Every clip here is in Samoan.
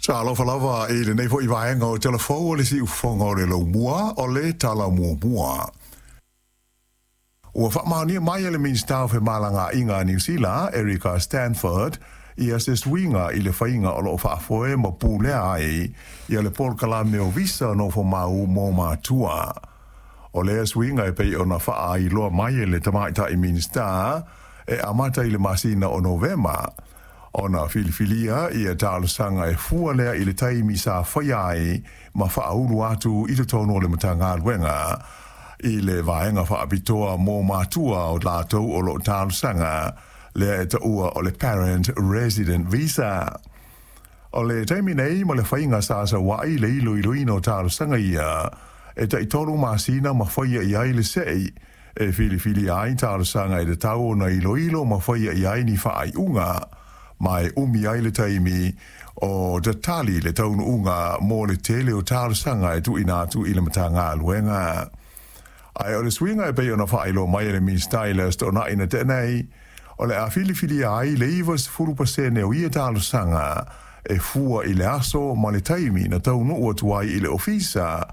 Talofa lava i lenei fo'i vaega o Tala Fou o le Siufofoga o le Laumua o le Tala Muamua. Ua faamaonia mai e le Minisita o Femalagaaiga a Niu Sila, Erica Stanford, ia se suiga i le faiga o lo o faafoe ma pulea ai ia le polokalame o visa nofomau mo matua. O lea suiga e pei ona faailoa mai e le tamaitai Minisita e amata i le masina o Novema ona filifilia ia talosaga e fua lea i le taimi sa faia ai ma faaulu atu i totonu o le Matagaluega i le vaega faapitoa mo matua o latou o lo o talosaga lea e taua o le Parent Resident Visa. O le taimi nei ma le faiga sa sau ai le iloiloina o talosaga ia, e tai 3 masina ma faia i ai le se'i e filifilia ai talosaga e tatau ona iloilo ma faia i ai ni faaiuga, ma e umi ai le taimi o tatali le taunuuga mo le tele o talosaga e tuuina atu i le Matagaluega. Ae o le suiga e pei ona faailoa mai e le Minisita i le Aso Toonai na tea nei, o le a filifilia ai le 90% o ia talosaga e fua i le aso ma le taimi na taunuu atu ai i le ofisa,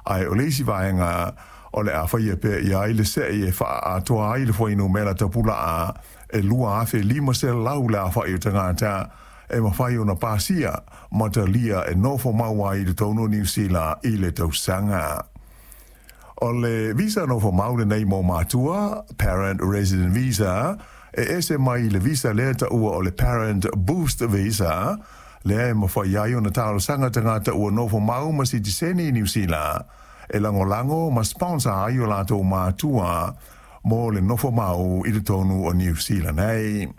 ae o le isi vaega o le a faia pea i ai le se'i e faaatoa ai le fuainumera tapulaa e 2500 le afa'i o tagata e mafai ona pasia ma talia e nofo mau ai i totonu o Niu Sila i le tausaga. O le visa nofo mau lenei mo matua, Parent Resident Visa, e ese mai le visa lea taua o le Parent Boost Visa, lea e mafai ai ona talosaga tagata ua nofo mau ma sitiseni i Niu Sila e lagolago ma sponsor ai o latou matua mo le nofo mau i totonu o Niu Sila nei.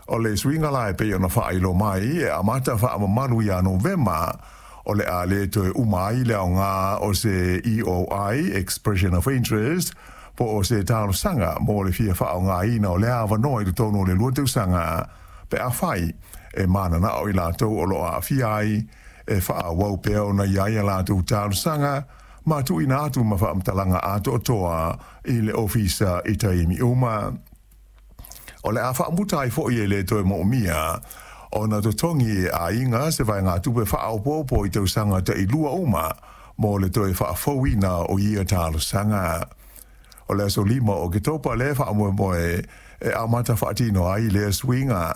O le suiga la e pei ona faailoa mai e amata faamamalu ia Novema, o le a le toe uma ai le aoga o se EOI, Expression of Interest, po o se talosaga mo le fia faaaogaina o lea avanoa i totonu o le 2 tausaga pe afai e mananao i latou o lo o aafia ai e faaauau pea ona i ai a latou talosaga ma tuuina atu ma faamatalaga atoatoa i le ofisa i taimi uma. O le a faamuta ai fo'i e le toe moomia ona totogi e aiga se vaegatupe faaopoopo i tausaga tai 2 uma mo le toe faafouina o ia talosaga. O le aso 5 o Oketopa lea faamoemoe e amata faatino ai lea suiga,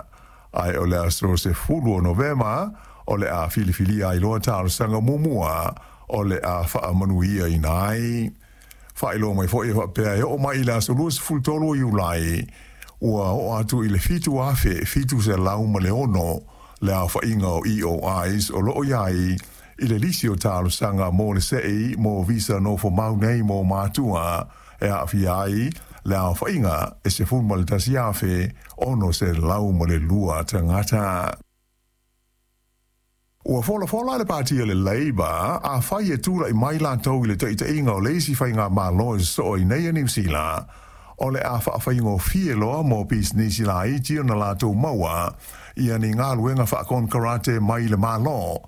ae o le aso 10 o Novema o le a filifilia ai loa talosaga muamua o le a faamanuiaina ai. Faailoa mai fo'i e faapea e oo mai i le aso 23 o Iulai ua oo atu i le 7706 le aofaiga o EOIs o lo o i ai i le lisi o talosaga mo le se'i mo visa nofo mau nei mo matua, e aafia ai le aofaiga e 11,602 tagata. Ua folafola le pati o le Labour afai e tula'i mai latou i le taitaiga o le isi faigamalo e sosoo ai nei a Niu Sila, o le a faafaigofie loa mo pisinisi laiti ona latou maua ia ni galuega faakonekarate mai le Malo.